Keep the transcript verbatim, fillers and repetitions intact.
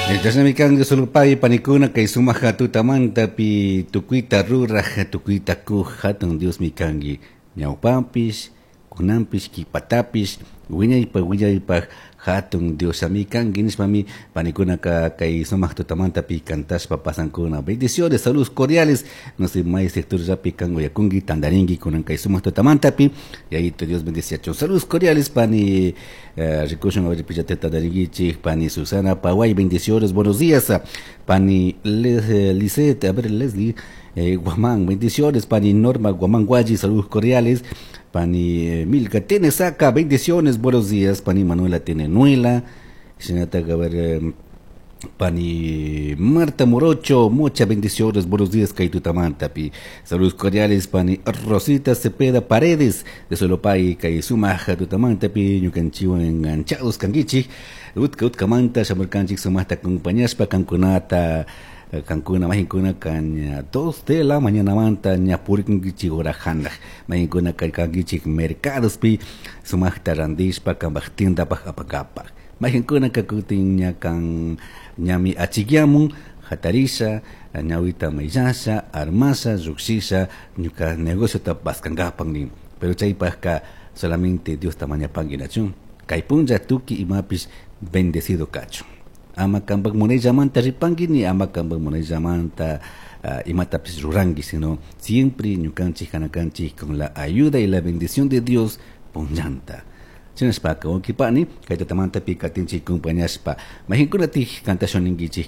Chashnami kan Sulpay panikuna kay sumak tutamantapi tukuyta ruraj tukuyta kuj hatun Diosmi kanki ñawpanpish kunanpish kipatapish wiñaypak wiñaypak hatun Diosami kanki nishpami panikunaka kay sumak tutamantapi cantashpa pasankuna. Bendiciones, saludos cordiales, no sé, may sectorllapi kan uyakunki tandarinki kunan kay sumak tutamantapi Yayito Dios bendiciachun. Saludos cordiales, pani eh, rikushun, a ver, pillate tandarinkichik pani Susana Paway, bendiciones, buenos días, pani Les, eh, Lisette, a ver, Leslie eh, Guamán, bendiciones, pani Norma Guamán Guayi, saludos cordiales, pani eh, Milka Tenesaca, bendiciones, buenos días, pani Manuela Tenenuela, a ver, eh, pani Marta Morocho, muchas bendiciones, buenos días, kay tutamantapi. Saludos cordiales, pani Rosita Cepeda Paredes, de Solopay, kay sumak tutamantapi, ñukanchikwan enganchados kankichik, utka utkamanta, shamurkanchik sumaqta acompañashpa kankunata, kankuna mahinkuna kan dos de la mañana manta ña purikunkichik hora hanaq mahinkuna kankichik mercadospi sumaqta randishpa kanpaq tiendapaq apakapaq mahinkuna kakutin ña kan ñami achikyamun hatarisha ñawita mayllasha armasha llukshisha ñuka negociota paskankapak nin, pero chaypaqka solamente Diosta mañapanki nachun kay punlla tukuy imapish bendecido kachun, ama kanpak munayllamanta ripanki ni ama kanpak munayllamanta uh, imatapish ruranki, sino siempre ñukanchik kanakanchik con la ayuda y la bendición de Dios punllanta. Shinashpaka wawqipani kay tutamantapi katinchik compañashpa mahinkunatik kantashun ninkichik.